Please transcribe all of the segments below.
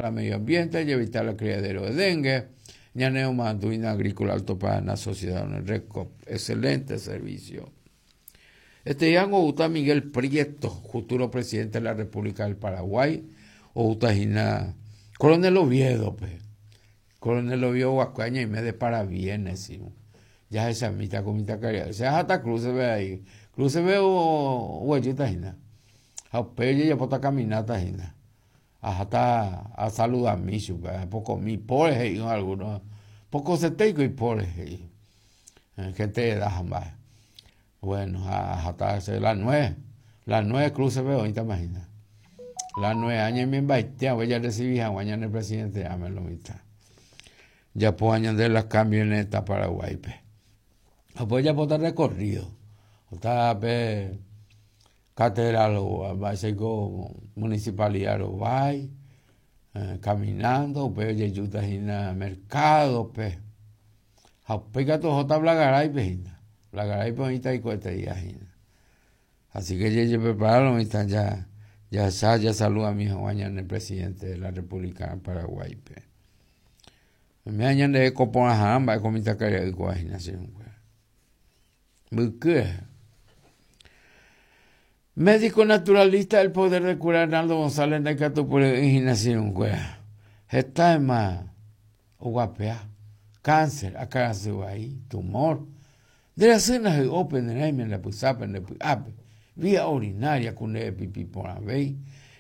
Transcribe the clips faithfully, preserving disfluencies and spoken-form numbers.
Para medio ambiente y evitar el criadero de dengue. Ñane Manduina Agrícola Alto Paraná, Sociedad Recop. Excelente servicio. Este día gusta Miguel Prieto, futuro presidente de la República del Paraguay. O gusta Gina Coronel Oviedo, pues. Coronel Oviedo Guacuaña y me de parabienes, sí. Ya esa mitad con mitad caridad. O sea, hasta cruce ve ahí. Cruce ve o huellita Gina. A pelle ya pota caminata Gina. Hasta a saludar a mí, poco mi pobre hijo algunos. Poco se tengo y pobre. Gente de edad jamás. Bueno, hasta las nueve. Las nueve cruce ve ahorita imagina. Las nueve años me embaitea, voy a recibir a mañana el presidente, ya me lo mitad. Ya puedo añadir las camionetas Paraguay, pe. O pues ya puedo recorrido. O está pe catedral o va a ser municipalidad o va eh, caminando, pe yeyuta hina mercado, pe. Jaupeka to jota blagaray pe hina. Blagaray pe ahorita y cuete día hina. Así que ya prepararon y están ya. Ya sa, ya saluda a mi hijo mañana el presidente de la República de Paraguay, pe. Me añan de copona jamba con mi tacaria de coaginación. Médico naturalista del poder de curar Arnaldo González de Catupure en Está en más guapea, cáncer, acá se va ahí, tumor. De la cena de open en la pusapa en la vía urinaria con el pipí por la vez,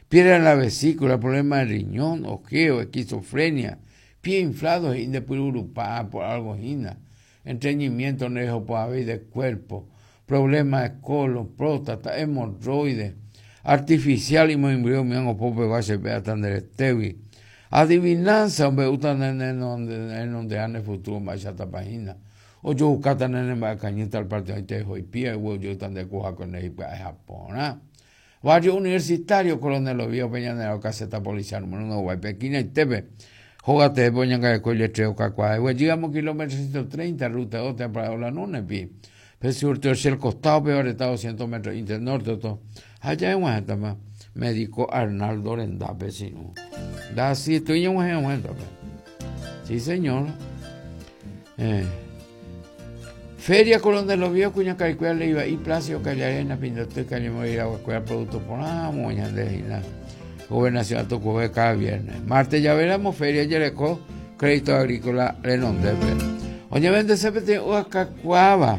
piedra en la vesícula, problema de riñón, ojeo, esquizofrenia, pie inflado y de pururupá por algo gina, entreñimiento nejo por haber de cuerpo, problema de colon, próstata, hemorroides, artificial y muy embrión, mi ango pope va a ser tan del estevi. Adivinanza, hombre, utan en donde en donde ande futuro más esta página. O yo buscatan en el cañita al partido de hoy pie, o yo tan de cuja con el Japón. Barrio universitario, Coronel Oviedo, Peñanero, caseta policial, número uno, Guaypequina y Tepe. Jógate, Poñanga de Coile, Treo, Cacuá. Llegamos kilómetro ciento treinta, ruta dos, para la Nunepi. Pe sur, el costado, peor estado, doscientos metros, internorte, todo. Allá en Guajatama, médico Arnaldo Rendape, si no. Da sí, estoy en Guajatama. Sí, señor. Eh. Feria Coronel Oviedo, Cuña Caricuela, Leiva y Placio, Callarena, Pindote, Cañemoira, Aguacuera, Producto por Moña de Gina. Gobernación a Tucumán cada viernes. Martes ya veremos, Feria Yerecó, Crédito Agrícola, Renondepe. Oye, vende C P T, oga cacuaba,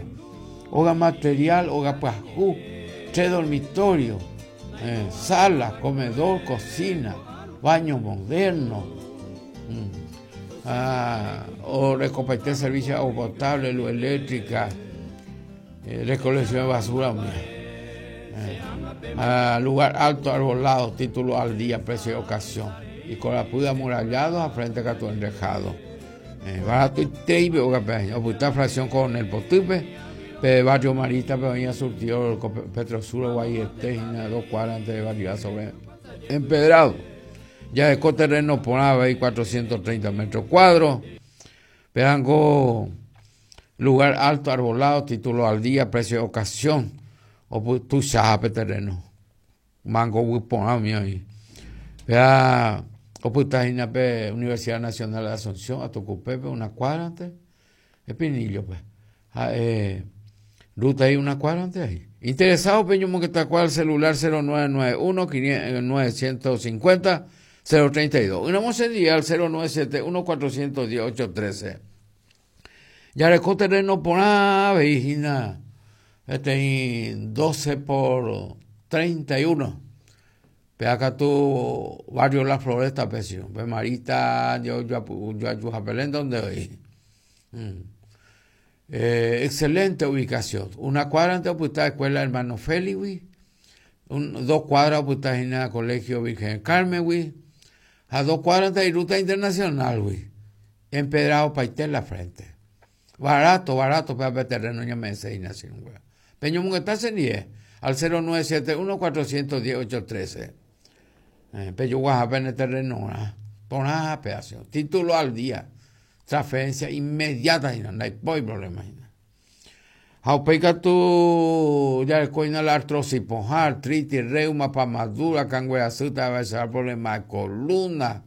oga material, oga pajú, tres dormitorios, eh, sala, comedor, cocina, baño moderno. Mm. Ah, o recompete servicio de agua potable, luz eléctrica, eh, recolección de basura. Eh, ah, lugar alto, arbolado, título al día, precio de ocasión. Y con la puda amurallado a frente a tu enrejado. Eh, barato y teibe, o oputa fracción con el potupe, pe barrio Marita, pe venía surtido Petrosur, Guayete, dos cuadras antes de barrio sobre empedrado. Ya de terreno por ahí cuatrocientos treinta metros cuadros. Perango, lugar alto, arbolado, título al día, precio de ocasión. O tú sabes terreno. Mango huipona mío ahí. Vea, o putajina pe Universidad Nacional de Asunción, a Tucupepe, una cuadra antes. Espinillo, pues. Ah, eh, ruta ahí, una cuadra antes ahí. Interesado, Peño Moqueta, cual celular cero nueve nueve uno, novecientos cincuenta, cero treinta y dos. Una mocería al cero nueve siete uno, cuatrocientos diez, ocho trece. Ya le terreno por ave, hijina. Este doce por treinta y uno. Pe acá tu barrio La Floresta, pecio. Pe Marita, yo, yo, yo, yo, yo, donde hoy. Mm. Eh, excelente ubicación. Una cuadra antes de la escuela Hermano Félix, un, dos cuadras pues en el Colegio Virgen del Carmen, güey. A dos cuadras de ruta internacional, güey. Empedrado pa' en la frente. Barato, barato, para el terreno ya me enseña así, güey. Peño Munguetá se nie al cero nueve siete uno, cuatrocientos diez, ocho trece. Eh, Peño Guajapa en el terreno, ¿no? Por nada, pedazo. Título al día. Transferencia inmediata, no hay problema. Jaupeca tu ya coina la artrosis, artritis, reuma, pamadura, cangüera, suta, va a ser problema de columna,